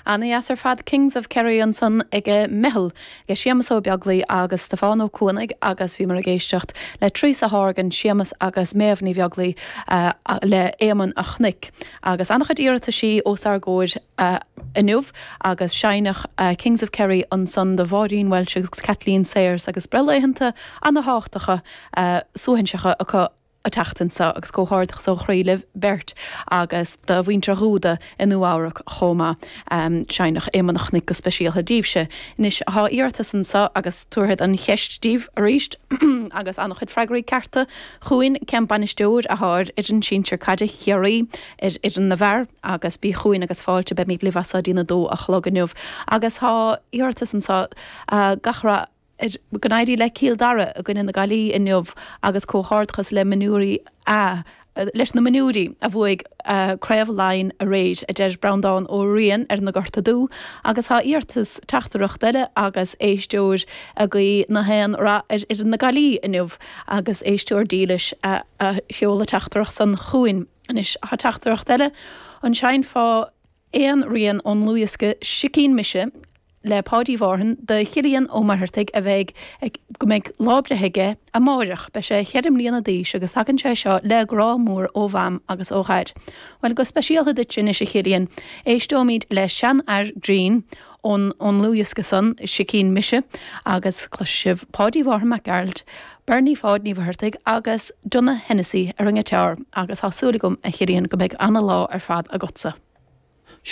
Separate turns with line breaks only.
Ana-dheas ar fad Kings of Kerry ansan ag Meitheal, ag Séamus Ó Beaglaoi agus Stiofán Ó Cuanaigh agus bhíomar ag éisteacht le Teresa Horgan, Séamus agus Méabh Ní Bheaglaoi le Éamonn a' Chnoic. Agus an-chuid iarrataisí os ár gcomhair inniu agus seinneadh Kings of Kerry ansan do Mháirín Walsh agus Kathleen Sayers agus breithlaethanta ana-thábhachtacha suaithinseacha acu an tseachtain seo agus comhghairdeachas ó chroí libh beirt agus do mhuintir Dhúda i Nua Eabhrac chomh maith. Seinneadh Éamonn a' Chnoic go speisialtha daoibhse. Anois thá iarratas anso agus tabharfad an cheist daoibh arís agus an-chuid freagraí cearta chugainn. Cén bainisteoir athá ar fhoireann sinsir caide Chiarraí ar fhoireann na bhfear agus bí chugainn agus fáilte beimid libh as so dtí'n 2 a chlog inniu agus thá iarratas anso gach rath ar go n-éirí le Cill Dara i gcoinne na Gaillimhe inniu agus comhghairdeachas le mionúirí A leis na mionúirí a bhuaigh Craobh Laighean aréir, a deir Breandán Ó Riain ar na Gorta Dubha agus tá iarratas teachtaireacht eile agus éisteoir ag guí na haon rath ar fhoireann na Gaillimhe inniu agus éisteoir dílis a sheol an teachtaireacht san chugainn. Anois tá teachtaireacht eile, an seinnfeá aon rian ón ndlúthdhiosca Sicín Mise le Páidí Mhárthain do Chillian Ó Muircheartaigh a bheidh ag go mbeidh lá breithe aige amáireach. Beidh sé cheithre mbliana d'aois agus tagann sé seo le grá mór ó Mham agus ó Dhaid. Bhuel, go speisialtha duitse anois a Chillian, éisteoimid le Seanfhear Grinn ón ón ndlúthdhiosca san, Sicín Mise, agus cloisfidh sibh Páidí Mhárthain Mac Gearailt, Bernie Pháid Ní Mhuircheartaigh agus Donogh Hennessy ar an ngiotár agus tá súil agam, a Chillian, go mbeidh ana-lá ar fad agatsa.